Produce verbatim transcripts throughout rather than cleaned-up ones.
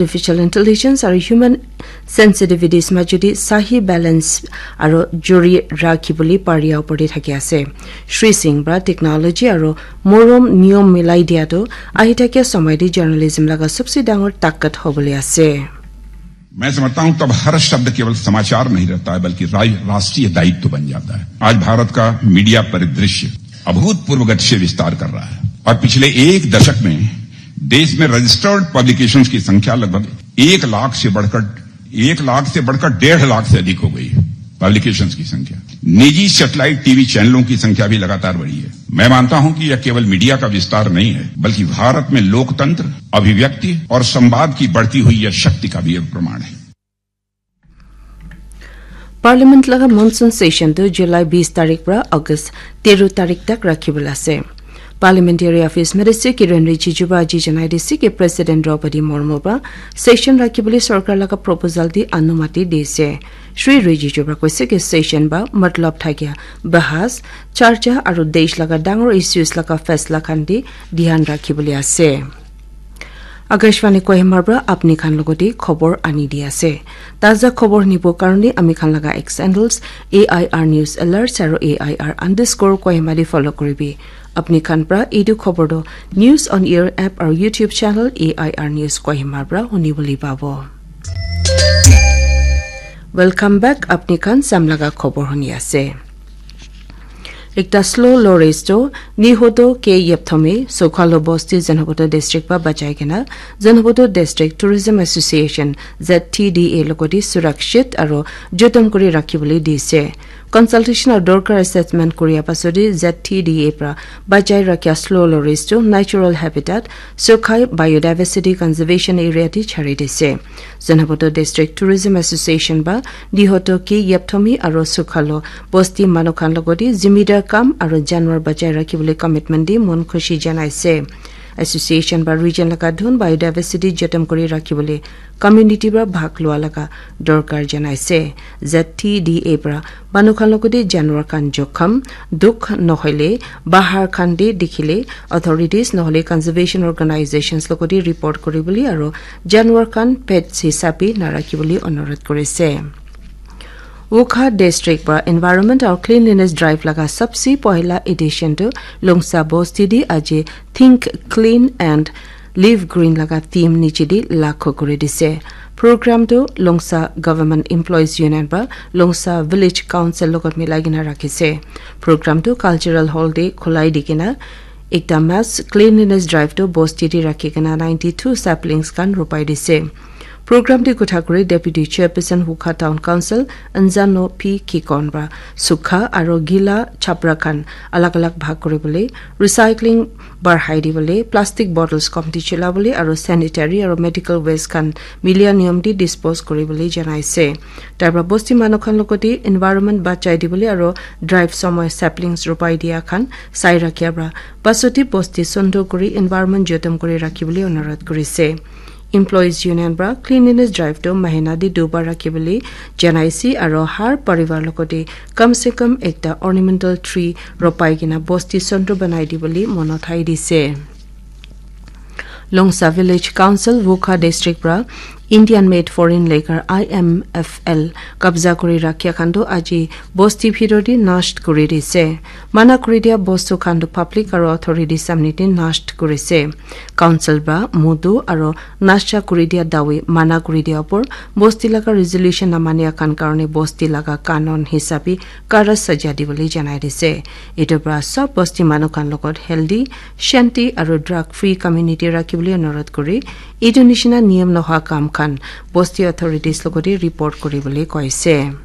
artificial intelligence aru human sensitivities majodi sahi balance aru jori rakhi bole paria opor te thaki ase. Shri Singh para technology aru morom niyom milai dia tu ahi thakia samay te journalism laga sabse dangor takat hobole ase. मैं समझता हूं, तब हर शब्द केवल समाचार नहीं रहता है, बल्कि रा-, राष्ट्रीय दायित्व बन जाता है। आज भारत का मीडिया परिदृश्य अभूतपूर्व गति से विस्तार कर रहा है और पिछले एक दशक में देश में रजिस्टर्ड पब्लिकेशंस की संख्या लगभग एक लाख से बढ़कर एक लाख से बढ़कर डेढ़ लाख से अधिक हो गई है। पब्लिकेशंस की संख्या, निजी सैटेलाइट टीवी चैनलों की संख्या भी लगातार बढ़ी है। मैं मानता हूं कि यह केवल मीडिया का विस्तार नहीं है, बल्कि भारत में लोकतंत्र, अभिव्यक्ति और संवाद की बढ़ती हुई यह शक्ति का भी एक प्रमाण है। Parliament laga monsoon session tu July bis tarik para August tero tarik tak rakhi bole ase. Parliamentary Office Minister Kiren Rijiju para aji janai dise ki President Draupadi Murmu para session rakhi bole sarkar laga proposal di anumati dise. Shri Rijiju para koise ki session ba matlab thakia bahas, charcha aru desh laga dangor issues laga faisla khan di dhyan rakhi bole ase. Akashvani Kohima para apni khan logote khobor ani di ase. Taza khobor nibo karone ami khan laga X handles A I R News Alerts aru A I R underscore Kohima de follow koribi. Apni khan para etu khobor do News on Air app aru YouTube channel A I R News Kohima para huni bole pabo. Welcome back. Apni khan sam laga khobor huni ase. Ekta slow low race to Nihoto K Yepthomi Sokhalo Bosti Zenhoboto District pa bachai kena Zenhoboto District Tourism Association Z T D A logoti surakshit aro jotom kuri rakhi bole dise. Consultation aro dorkar assessment kuria pasodi Z T D A pra bachai rakhia slow low race to natural habitat, Sokhai Biodiversity Conservation Area ti chari dise. Zenhoboto District Tourism Association ba Nihoto K Yepthomi aro Sokhalo Bosti manu khan logoti zimidar kam aro janwar bachai rakhi bole commitment di mon khushi janaise. Association ba region laga dhun biodiversity jotom kuri rakhi bole community ba bhag lua laga dorkar janaise. Z T D A pra manu khan logoti janwar khan jokham, dukh nohoile bahar khan de dikhile authorities nohole conservation organizations logoti report kuri bole aro janwar khan pets hisabe narakhi bole onurodh kurise. Wokha District para Environment aru Cleanliness Drive laga sabse pohila edition tu Longsa Bosti di aji Think Clean and Live Green laga theme niche di lakho kuri dise. Program tu Longsa Government Employees Union para Longsa Village Council logot milai kena rakhise. Program tu Cultural Hall de khulai di kena ekta mass cleanliness drive tu Bosti di rakhi kena ninety two saplings khan ropai dise. Program te kotha kuri Deputy Chairperson Wokha Town Council Anjano P Kikon para sukha aro gila chapra khan alag alag bhag kuri bole, recycling barhai di bole, plastic bottles komti chila bole aro sanitary aro medical waste khan milia niyom di dispose kuri bole janaise. Tar para bosti manu khan logoti environment bachai di bole aro drive somoy saplings ropai dia khan sai rakhia para pasoti bosti sondo kuri environment jotom kuri rakhi bole onurodh kurise. Employees Union para cleanliness drive tu mahina di dubar rakhi bole janaise aro har parivar logoti kam se kam ekta ornamental tree ropai kena bosti sondo banai di bole monothai dise. Longsa Village Council Wokha District para Indian Made Foreign Lager I M F L kabza kuri rakhia khan tu aji bosti bhitor di nasht kuri dise. Mana kuri dia bostu khan tu public aro authority samne di nasht kurise. Council para mudu aro nasha kuri dia dawi mana kuri dia upor bosti laga resolution namania khan karone bosti laga kanon hisabe kara saja di bole janai dise. Etu para sob bosti manu khan logot healthy, shanti aro drug free community rakhi bole onurodh kuri etu nishina niyom noha kam khan bosti authorities logoti report kuri bole koise.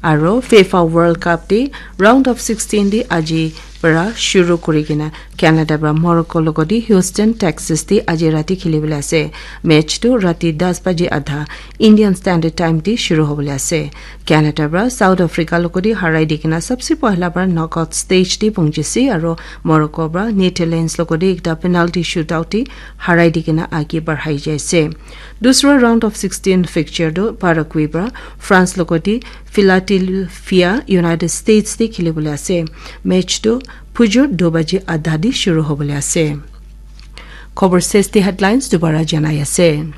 Aro FIFA World Cup te round of sixteen te aji para shuru kuri kena Canada para Morocco logoti Houston, Texas te aji rati kheli bole ase. Match tu rati das baji adha Indian Standard Time te shuru hobole ase. Canada para South Africa logoti harai di kena sabse pohla para knockout stage te punchise aro Morocco para Netherlands logoti ekta penalty shootout te harai di kena age barhai jaise. Dusra round of sixteen fixture tu Paraguay para France logoti Philadelphia United States te kheli bole ase. Match tu phujur do baji adha di shuru hobole ase. Khobor ses te headlines dubara janai ase.